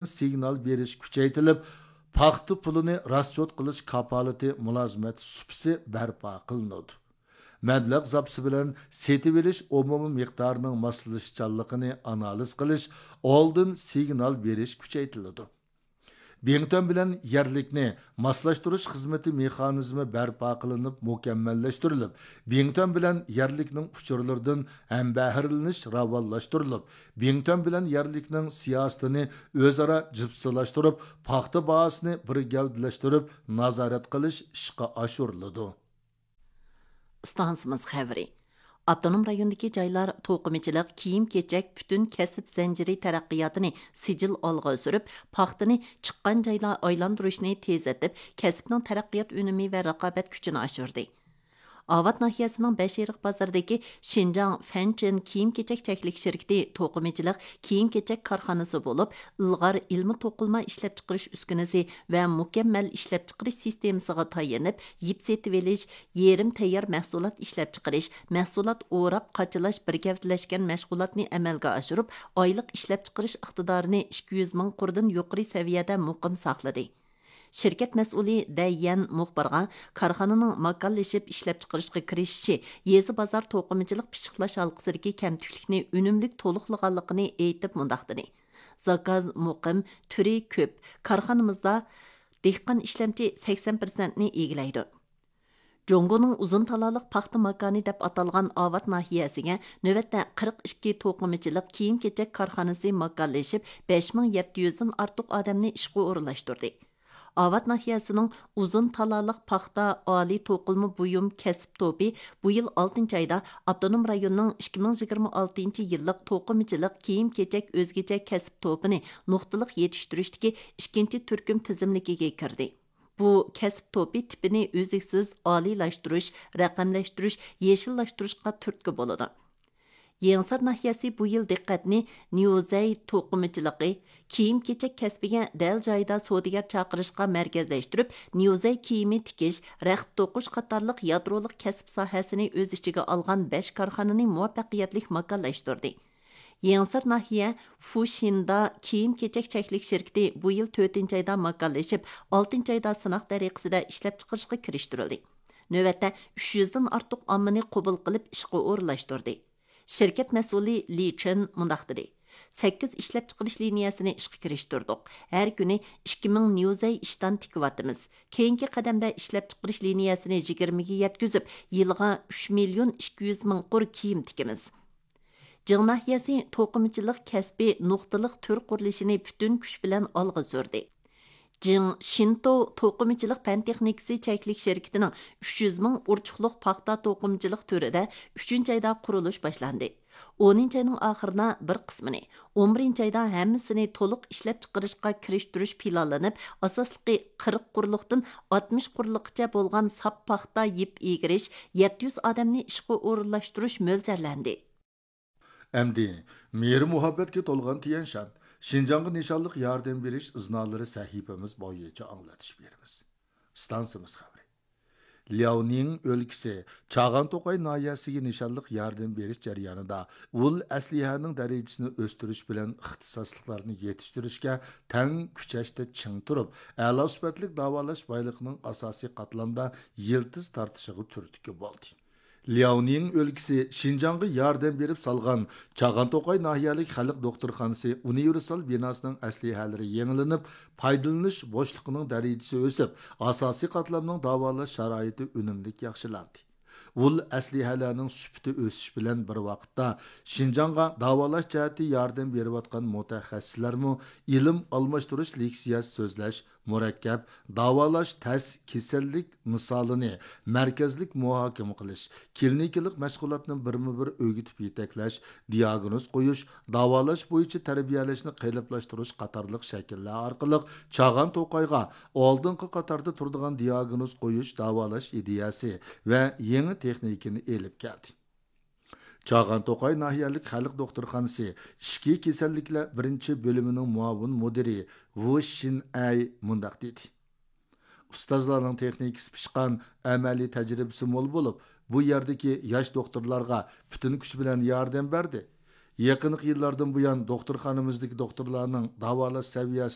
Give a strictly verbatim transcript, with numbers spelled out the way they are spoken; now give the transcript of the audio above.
سىگنال بېرىش كۈچەيتىلىپ، پاختا پۇلىنى راسچوت قىلىش كاپالىتى مۇلازىمەت سۇپىسى بەرپا قىلىنىدۇ. مەبلەغ زاپىسى بىلەن سېتىۋېلىش ئومۇمىي مىقدارىنىڭ ماسلىشىشچانلىقىنى ئانالىز قىلىش، ئالدىن سىگنال بېرىش كۈچەيتىلىدۇ. بىڭتۈەن بىلەن يەرلىكنى ماسلاشتۇرۇش خىزمىتى مېخانىزمى بەرپا قىلىنىپ مۇكەممەللەشتۈرۈلۈپ، بىڭتۈەن بىلەن يەرلىكنىڭ ئۇچۇرلىرىدىن ھەمبەھىرلىنىش راۋانلاشتۇرۇلۇپ، بىڭتۈەن بىلەن يەرلىكنىڭ سىياسىتىنى ئۆزئارا جىپسىلاشتۇرۇپ، پاختا باھاسىنى بىر گەۋدىلەشتۈرۈپ نازارەت قىلىش ئىشقا ئاشۇرۇلىدۇ. ئىستانسىمىز خەۋىرى. ئاپتونوم رايوندىكى جايلار توقۇمىچىلىق، كىيىم-كېچەك پۈتۈن كەسىپ زەنجىرى تەرەققىياتىنى سىجىل ئالغا سۈرۈپ، پاختىنى چىققان جايلار ئايلاندۇرۇشنى تېزلىتىپ، كەسىپنىڭ تەرەققىيات ئۈنۈمى ۋە رىقابەت كۈچىنى ئاشۇردى. ئاۋات ناھىيەسىنىڭ بەشئېرىق بازىرىدىكى شىنجاڭ فەنچېن كىيىم-كېچەك چەكلىك شىركىتى توقۇمىچىلىق، كىيىم-كېچەك كارخانىسى بولۇپ، ئىلغار ئىلمىي توقۇلما ئىشلەپچىقىرىش ئۈسكۈنىسى ۋە مۇكەممەل ئىشلەپچىقىرىش سىستېمىسىغا تايىنىپ، يىپ سېتىۋېلىش، يېرىم تەييار مەھسۇلات ئىشلەپچىقىرىش، مەھسۇلات ئوراپ قاچىلاش بىر گەۋدىلەشكەن مەشغۇلاتنى ئەمەلگە ئاشۇرۇپ، ئايلىق ئىشلەپچىقىرىش ئىقتىدارىنى ئىككى يۈز مىڭ قۇردىن يۇقىرى سەۋىيەدە مۇقىم ساقلىدى. شىركەت مەسئۇلى دەي يەن مۇخبىرغا كارخانىنىڭ ماكانلىشىپ ئىشلەپچىقىرىشقا كىرىشىشى يېزا بازار توقۇمىچىلىق پىششىقلاش ھالقىسىدىكى كەمتۈكلۈكنى ئۈنۈملۈك تولۇقلىغانلىقىنى ئېيتىپ مۇنداق دېدى: زاكاز مۇقىم، تۈرى كۆپ. كارخانىمىزدا دېھقان ئىشلەمچى سەكسەن پىرسەنتنى ئىگىلەيدۇ. جۇڭگونىڭ ئۇزۇن تالالىق پاختا ماكانى دەپ ئاتالغان ئاۋات ناھىيەسىگە نۆۋەتتە قىرىق ئىككى توقۇمىچىلىق كىيىم-كېچەك كارخانىسى ماكانلىشىپ، بەش مىڭ يەتتە يۈزدىن ئارتۇق ئادەمنى ئىشقا ئورۇنلاشتۇردى. ئاۋات ناھىيەسىنىڭ ئۇزۇن تالالىق پاختا ئالىي توقۇلما بۇيۇم كەسىپ توپى بۇ يىل ئالتىنچى ئايدا ئاپتونوم رايوننىڭ ئىككى مىڭ يىگىرمە ئالتىنچى يىللىق توقۇمىچىلىق كىيىم-كېچەك ئۆزگىچە كەسىپ توپىنى نۇقتىلىق يېتىشتۈرۈشتىكى ئىككىنچى تۈركۈم تىزىملىكىگە كىردى. بۇ كەسىپ توپى تىپىنى ئۈزلۈكسىز ئالىيلاشتۇرۇش، رەقەملەشتۈرۈش، يېشىللاشتۇرۇشقا تۈرتكە بولىدۇ. يېڭىسار ناھىيەسى بۇ يىل دىققەتنى نيۇزەي توقۇمىچىلىقى، كىيىم-كېچەك كەسپىگە دەل جايىدا سودىگەر چاقىرىشقا مەركەزلەشتۈرۈپ، نيۇزەي كىيىمى تىكىش، رەخت توقۇش قاتارلىق يادرولۇق كەسىپ ساھەسىنى ئۆز ئىچىگە ئالغان بەش كارخانىنى مۇۋەپپەقىيەتلىك ماكانلاشتۇردى. يېڭىسار ناھىيە فۇشىندا كىيىم-كېچەك چەكلىك شىركىتى بۇ يىل تۆتىنچى ئايدا ماكانلىشىپ، ئالتىنچى ئايدا سىناق دەرىجىسىدە ئىشلەپچىقىرىشقا كىرىشتۈرۈلدى. نۆۋەتتە ئۈچ يۈزدىن ئارتۇق ئاممىنى قوبۇل قىلىپ ئىشقا ئورۇنلاشتۇردى. شىركەت مەسئۇلى لى چېن مۇنداق دېدى: سەككىز ئىشلەپچىقىرىش لىنىيەسىنى ئىشقا كىرىشتۈردۇق. ھەر كۈنى ئىككى مىڭ نيۇزەي ئىشتان تىكىۋاتىمىز. كېيىنكى قەدەمدە ئىشلەپچىقىرىش لىنىيەسىنى يىگىرمىگە يەتكۈزۈپ، يىلىغا ئۈچ مىليون ئىككى يۈز مىڭ قۇر كىيىم تىكىمىز. جىڭ ناھىيەسى توقۇمىچىلىق كەسپى نۇقتىلىق تۈر قۇرۇلۇشىنى پۈتۈن كۈچ بىلەن ئالغا سۈردى. جىڭ شىنتو توقۇمىچىلىق پەن تېخنىكىسى چەكلىك شىركىتىنىڭ ئۈچ يۈز مىڭ ئۇرچۇقلۇق پاختا توقۇمىچىلىق تۈرىدە ئۈچىنچى ئايدا قۇرۇلۇش باشلاندى. ئونىنچى ئاينىڭ ئاخىرىدا بىر قىسمىنى، ئون بىرىنچى ئايدا ھەممىسىنى تولۇق ئىشلەپچىقىرىشقا كىرىشتۈرۈش پىلانلىنىپ، ئاساسلىقى قىرىق قۇرلۇقتىن ئاتمىش قۇرلۇققىچە بولغان ساپ پاختا يىپ ئىگىرىش، يەتتە يۈز ئادەمنى ئىشقا ئورۇنلاشتۇرۇش مۆلچەرلەندى. ئەمدى مېھرى مۇھەببەتكە تولغان تيەنشان، شىنجاڭغا نىشانلىق ياردەم بېرىش ئىزنالىرى سەھىپىمىز بويىچە ئاڭلىتىش بېرىمىز. ئىستانسىمىز خەۋىرى. لياۋنىڭ ئۆلكىسى چاغان توقاي ناھىيەسىگە نىشانلىق ياردەم بېرىش جەريانىدا ئۇل ئەسلىھەنىڭ دەرىجىسىنى ئۆستۈرۈش بىلەن ئىختىساسلىقلارنى يېتىشتۈرۈشكە تەڭ كۈچەشتە چىڭ تۇرۇپ، ئەلا سۈپەتلىك داۋالاش بايلىقىنىڭ ئاساسىي قاتلامدا يىلتىز تارتىشىغا تۈرتكە بولدى. لياۋنىڭ ئۆلكىسى شىنجاڭغا ياردەم بېرىپ سالغان چاغان توقاي ناھىيەلىك خەلق دوختۇرخانىسى ئۇنىۋېرسال بىناسىنىڭ ئەسلىھەلىرى يېڭىلىنىپ، پايدىلىنىش بوشلۇقىنىڭ دەرىجىسى ئۆسۈپ، ئاساسىي قاتلامنىڭ داۋالاش شارائىتى ئۈنۈملۈك ياخشىلاندى. ئۇل ئەسلىھەلەرنىڭ سۈپىتى ئۆسۈش بىلەن بىر ۋاقىتتا، شىنجاڭغا داۋالاش جەھەتتە ياردەم بېرىۋاتقان مۇتەخەسسىسلەرمۇ ئىلىم ئالماشتۇرۇش، لېكسىيە سۆزلەش، مۇرەككەپ داۋالاش تەس كېسەللىك مىسالىنى مەركەزلىك مۇھاكىمە قىلىش، كلىنىكىلىق مەشغۇلاتنى بىرمۇ بىر ئۆگىتىپ يېتەكلەش، دىئاگنوز قويۇش، داۋالاش بويىچە تەربىيەلەشنى قېلىپلاشتۇرۇش قاتارلىق شەكىللەر ئارقىلىق چاغان توقايغا ئالدىنقى قاتاردا تۇرىدىغان دىئاگنوز قويۇش، داۋالاش ئىدىيەسى ۋە يېڭى تېخنىكىنى ئېلىپ كەلدى. چاغان توقاي ناھىيەلىك خەلق دوختۇرخانىسى ئىچكى كېسەللىكلەر بىرىنچى بۆلۈمىنىڭ مۇئاۋىن مۇدىرى ۋۇ شىنئەي مۇنداق دېدى: ئۇستازلارنىڭ تېخنىكىسى پىشقان، ئەمەلىي تەجرىبىسى مول بولۇپ، بۇ يەردىكى ياش دوختۇرلارغا پۈتۈن كۈچى بىلەن ياردەم بەردى. يېقىنقى يىللاردىن بۇيان، دوختۇرخانىمىزدىكى دوختۇرلارنىڭ داۋالاش سەۋىيەسى